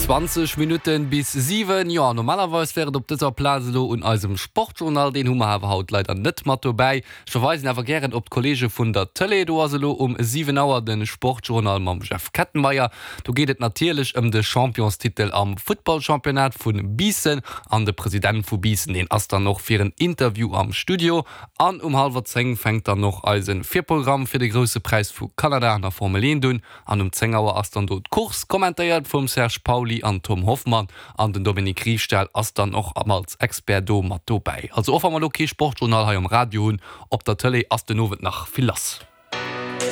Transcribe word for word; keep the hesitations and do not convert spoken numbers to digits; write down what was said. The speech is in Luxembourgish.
Zwanzeg Minutten bis siwen. Jo, normalerweis wär et op dëser Plaz elo un eisem Sportjournal. Deen hu mer awer haut leider net mat dobäi. Ech verweisen awer gären op d'Kolleege vun der Tëlee. Do ass elo um siwen Auer de Sportjournal mam Jeff Kettenmeyer. Do geet et natierlech ëm de Championstitel am Futtballchampionnat vu Biissen. An de President vu Biissen, deen ass dann och fir en Interview am Studio. An um hallwer zéng fänkt dann och eise Virprogramm fir de Grousse Präis vu Kanada an der Formel eent un. An um zéng Auer ass dann do d'Course, kommentéiert vum Serge Pauly an Tom Hoffmann. An den Dominique Riefstahl ass dann och als Expert do mat dobäi. Also och wa mer elo kee Sportjournal hei um Radio hunn, op der Tëlee ass den Owend nach vill lass.